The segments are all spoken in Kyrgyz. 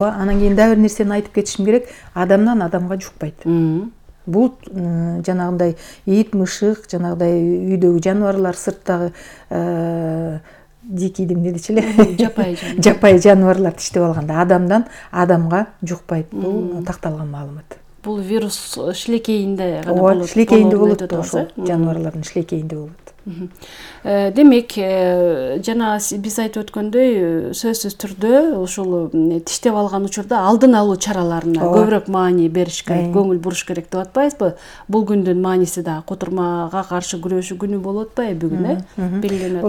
Анан кийин дагы бир нерсени айтып кетишим керек. Адамдан адамга жукпайт. Бул жанагындай ит, мышык, жанагындай үйдөгү жаныбарлар, сырттагы дикий эмне дечи эле? Жапай жаныбарлар тиштеп алганда адамдан адамга жукпайт. Бул такталган маалымат. Бул вирус шилекейинде гана болот. Шилекейинде болот, ошол жаныбарлардын шилекейинде болот. Демек, жана биз айтып өткөндөй, сөзсүз түрдө ушул тиштеп алган учурда алдын алуу чараларына көбүрөөк маани бериш керек, көңүл буруш керек деп атпайбызбы? Бул күндүн мааниси да кутурмага каршы күрөшүү күнү болуп атпайбы бүгүн, белгиленет.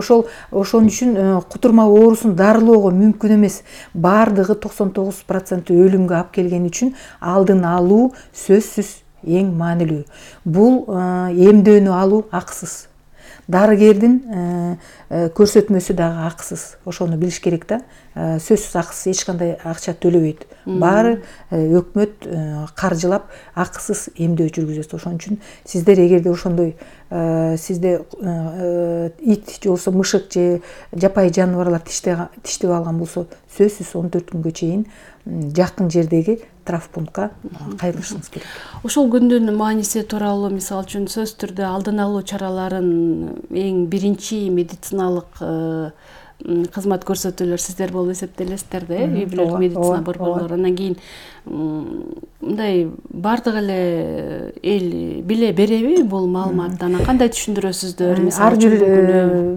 Ошон үчүн кутурма оорусун дарылоого мүмкүн эмес. Бардыгы 99% өлүмгө алып келгени үчүн алдын алуу сөзсүз эң маанилүү. Бул эмдөөнү алуу акысыз. Дарыгердин көрсөтмөсү дагы акысыз. Ошону билиш керек да. Сөзсүз акысыз, эч кандай акча төлөбөйт. Баары өкмөт каржылап акысыз эмдөө жүргүзөт. Ошон үчүн сиздер эгерде ошондой сизде ит же болбосо мышык же жапай жаныбарлар тиштеп алган болсо, сөзсүз 14 күнгө чейин жакын жердеги травмпунктка кайрылышыңыз керек. Ошол күндүн мааниси тууралуу мисалы үчүн сөз түрдө алдын алуу чараларын эң биринчи медициналык кызмат көрсөтүүлөр сиздер болуп эсептелесиздер да, үй бүлөлүк медицина борборлору. Андан кийин мындай бардык эле эл биле береби бул маалыматты? Анан кандай түшүндүрөсүздөр? Ар бир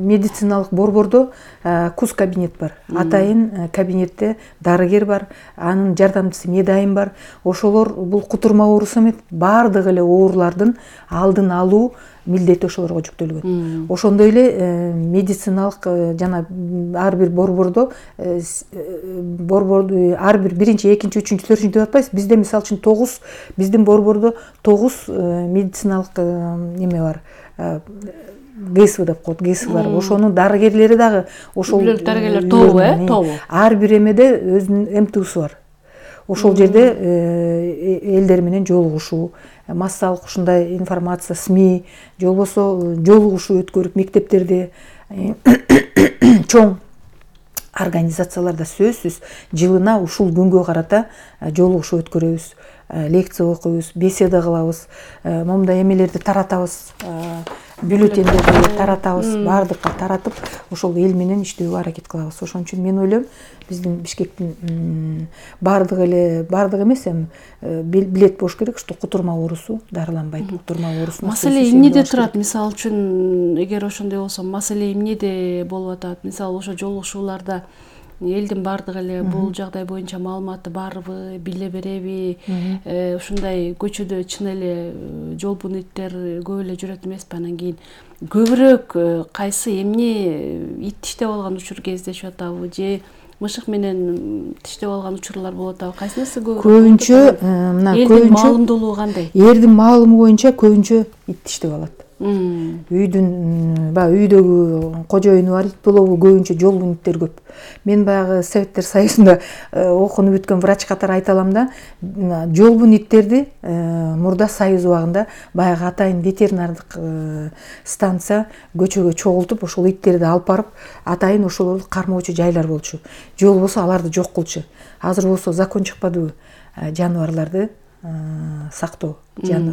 медициналык борбордо куз кабинет бар. Атайын кабинетте дарыгер бар, анын жардамчысы медайым бар. Ошолор бул кутурма оорусу эмес, бардык эле оорулардын алдын алуу милдети ошолорго жүктөлгөн. Ошондой эле медициналык жана ар бир борбордо ар бир биринчи, экинчи, үчүнчү, төртүнчү деп атпайбыз. Бизде мисалы үчүн 9, биздин борбордо 9 медициналык эме бар. ГСВ деп коет, ГСВлар. Ошонун дарыгерлери дагы ошол дарыгерлер тобу. Ар бир эмеде өзүнүн МТУсу бар.Ошол жерде элдер менен жолугушуу, массалык ушундай информация, СМИ, же болбосо жолугушуу өткөрүп мектептерде, чоң организацияларда сөзсүз жылына ушул күнгө карата жолугушуу өткөрөбүз, лекция окуйбуз, беседа кылабыз, момундай эмелерди таратабыз, бюллетендерди таратабыз, бардыкка таратып, ошол эл менен иштөөгө аракет кылабыз. Ошон үчүн мен ойлойм, биздин Бишкектин бардык эмес, эми билет болуш керек, что кутурма оорусу дарыланбайт. Кутурма оорусу маселе эмнеде турат? Мисалы үчүн, эгер ошондой болсо, маселе эмнеде болуп атат? Мисалы, ошо жолугушууларда элдин бардыгы эле бул жагдай боюнча маалыматты барбы, биле береби? Ушундай көчөдө чын эле жолбун иттер көп эле жүрөт эмеспи? Анан кийин көбүрөөк кайсы эмне ит тиштеп алган учур кездешип атабы же мышык менен тиштеп алган учурлар болуп атабы? Кайсынысы көбүрөөк? Элдин маалымдуулугу кандай? Эрдин маалымы боюнча көбүнчө ит тиштеп алат. Үйдөгү кожоюну бар ит болобу, көбүнчө жолбун иттер көп. Мен баягы Советтер Союзунда окунуп өткөн врач катары айта алам да, жолбун иттерди мурда Союз убагында баягы атайын ветеринардык станция көчөгө чогултуп, ошол иттерди алып барып, атайын ошолорду кармоочу жайлар болчу. Же болбосо аларды жок кылчу. Азыр болсо закон чыкпадыбы? Жаныбарларды сактоо,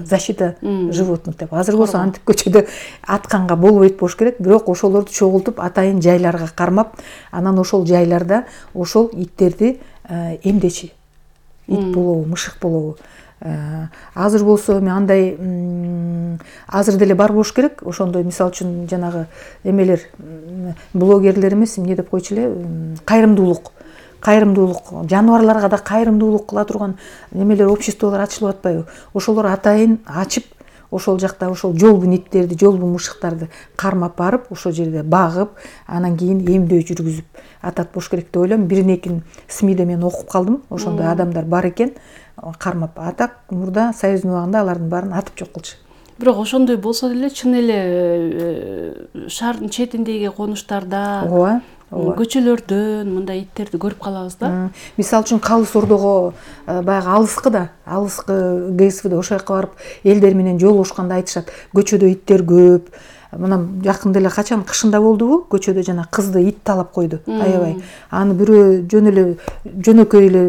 защита животных деп. Азыр болсо антип көчөдө атканга болбойт болуш керек, бирок ошолорду чогултуп атайын жайларга кармап, анан ошол жайларда ошол иттерди эмдечи. Ит болобу, мышык болобу. Азыр болсо эми андай азыр деле бар болуш керек. Ошондой мисалы үчүн жанагы эмелер, блогерлер эмес, эмне деп койчу эле, кайрымдуулук, жаныбарларга да кайрымдуулук кыла турган немелер, обществолор ачылып атпайбы? Ошолор атайын ачып, ошол жакта ошол жолбун иттерди, жолбун мышыктарды кармап барып, ошол жерде багып, анан кийин эмдөө жүргүзүп атат болуш керек деп ойлойм. Биринекин СМИде мен окуп калдым, ошондой адамдар бар экен, кармап. Атак мурда Союздун убагында алардын баарын атып жок кылчу. Бирок ошондой болсо деле чын эле шаардын четиндеги конуштарда, көчөлөрдөн мындай иттерди көрүп калабыз да. Мисалы үчүн Калыс Ордого баягы алыскы ГСВде ошол жака барып элдер менен жолугушканда айтышат, көчөдө иттер көп, мына жакында эле качан кышында болдубу, көчөдө жана кызды ит талап койду аябай. Аны бирөө жөн эле жөнөкөй эле